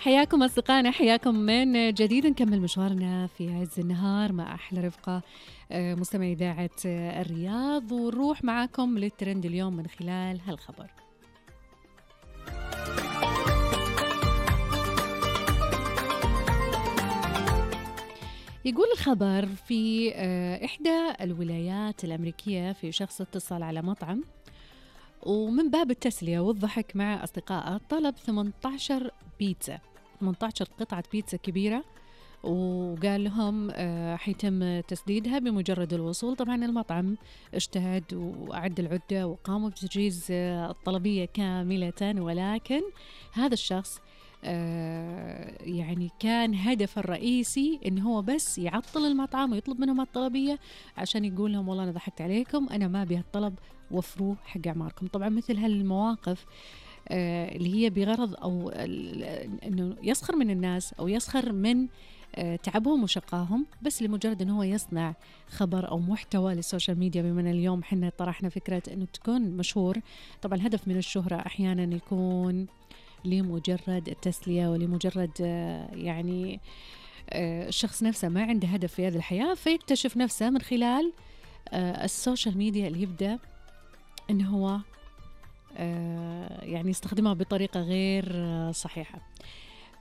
حياكم أصدقائنا، حياكم من جديد. نكمل مشوارنا في عز النهار مع أحلى رفقة مستمعي إذاعة الرياض، ونروح معاكم للترند اليوم من خلال هالخبر. يقول الخبر في إحدى الولايات الأمريكية في شخص اتصل على مطعم ومن باب التسلية والضحك مع أصدقائه طلب 18 بيتزا، 18 قطعة بيتزا كبيرة، وقال لهم حيتم تسديدها بمجرد الوصول. طبعا المطعم اجتهد وأعد العدة وقاموا بتجهيز الطلبية كاملة، ولكن هذا الشخص يعني كان هدفه الرئيسي إن هو بس يعطل المطعم ويطلب منهم الطلبية عشان يقول لهم والله أنا ضحكت عليكم، أنا ما أبي هالطلب، وفروه حق أعماركم. طبعا مثل هالمواقف اللي هي بغرض أو أنه يسخر من الناس أو يسخر من تعبهم وشقاهم، بس لمجرد أنه هو يصنع خبر أو محتوى للسوشيال ميديا. بما اليوم حنا طرحنا فكرة أنه تكون مشهور، طبعا الهدف من الشهرة أحيانا يكون لمجرد التسلية ولمجرد يعني الشخص نفسه ما عنده هدف في هذه الحياة، فيكتشف نفسه من خلال السوشيال ميديا اللي يبدأ أنه هو يعني يستخدمها بطريقة غير صحيحة.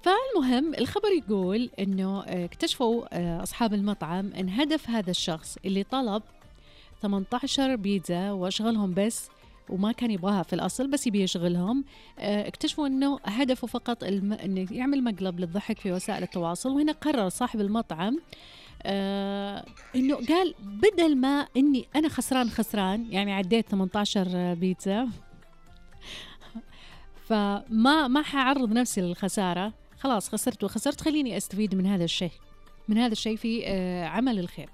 فالمهم الخبر يقول أنه اكتشفوا أصحاب المطعم أن هدف هذا الشخص اللي طلب 18 بيتزا وأشغلهم بس، وما كان يبغاها في الأصل بس يبي يشغلهم، اكتشفوا أنه هدفه فقط أنه يعمل مقلب للضحك في وسائل التواصل. وهنا قرر صاحب المطعم أنه قال بدل ما أني أنا خسران يعني عديت 18 بيتزا فما حعرض نفسي للخسارة، خلاص خسرت خليني أستفيد من هذا الشيء في عمل الخير.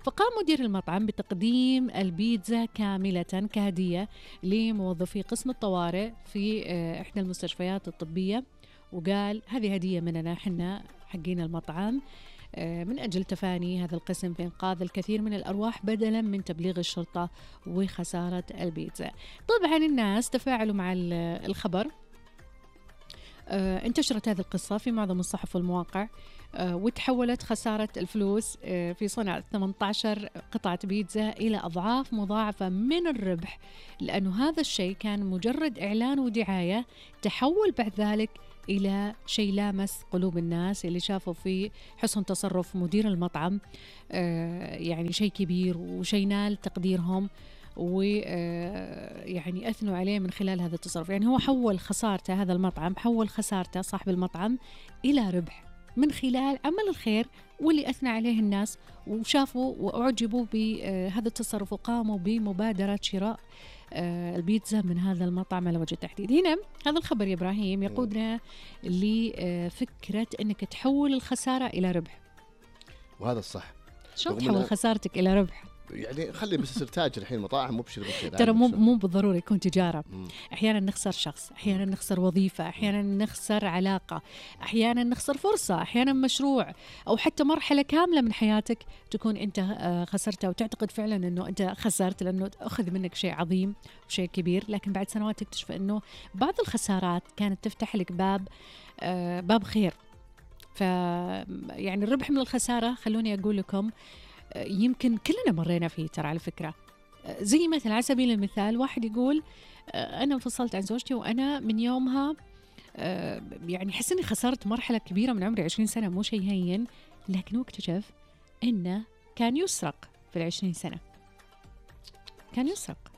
فقام مدير المطعم بتقديم البيتزا كاملة كهدية لموظفي قسم الطوارئ في إحدى المستشفيات الطبية، وقال هذه هدية مننا حنا حقين المطعم من أجل تفاني هذا القسم في إنقاذ الكثير من الأرواح بدلا من تبليغ الشرطة وخسارة البيتزا. طبعا الناس تفاعلوا مع الخبر، انتشرت هذه القصة في معظم الصحف والمواقع، وتحولت خسارة الفلوس في صنع 18 قطعة بيتزا إلى أضعاف مضاعفة من الربح، لأنه هذا الشيء كان مجرد إعلان ودعاية تحول بعد ذلك إلى شيء لامس قلوب الناس اللي شافوا في حسن تصرف مدير المطعم يعني شيء كبير وشيء نال تقديرهم، ويعني أثنوا عليه من خلال هذا التصرف. يعني هو حول خسارته، هذا المطعم حول خسارته صاحب المطعم إلى ربح من خلال عمل الخير، واللي أثنى عليه الناس وشافوا وأعجبوا بهذا التصرف وقاموا بمبادرة شراء البيتزا من هذا المطعم على وجه التحديد. هنا هذا الخبر يا إبراهيم يقودنا لفكرة أنك تحول الخسارة إلى ربح. وهذا الصح. شو تحول خسارتك إلى ربح؟ يعني خلي بس يصير تاجر الحين مطاعم، مو بشر بالخير. ترى مو بالضروري يكون تجارة. أحيانا نخسر شخص، أحيانا نخسر وظيفة، أحيانا نخسر علاقة، أحيانا نخسر فرصة، أحيانا مشروع، أو حتى مرحلة كاملة من حياتك تكون أنت خسرتها وتعتقد فعلا أنه أنت خسرت لأنه أخذ منك شيء عظيم وشيء كبير، لكن بعد سنوات تكتشف أنه بعض الخسارات كانت تفتح لك باب خير. يعني الربح من الخسارة خلوني أقول لكم يمكن كلنا مرينا فيه ترى على فكرة. زي مثلا على سبيل المثال واحد يقول أنا انفصلت عن زوجتي وأنا من يومها يعني حس أني خسرت مرحلة كبيرة من عمري 20 سنة، مو شيء هين، لكن اكتشف أنه كان يسرق في 20 سنة، كان يسرق.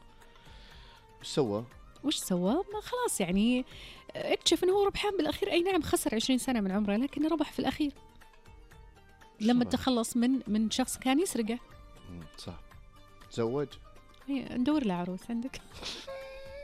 وش سوى؟ ما خلاص يعني اكتشف أنه هو ربحان بالأخير. أي نعم خسر 20 سنة من عمره، لكن ربح في الأخير لما تخلص من شخص كان يسرقه. صح. تزوج؟ ندور له عروس عندك.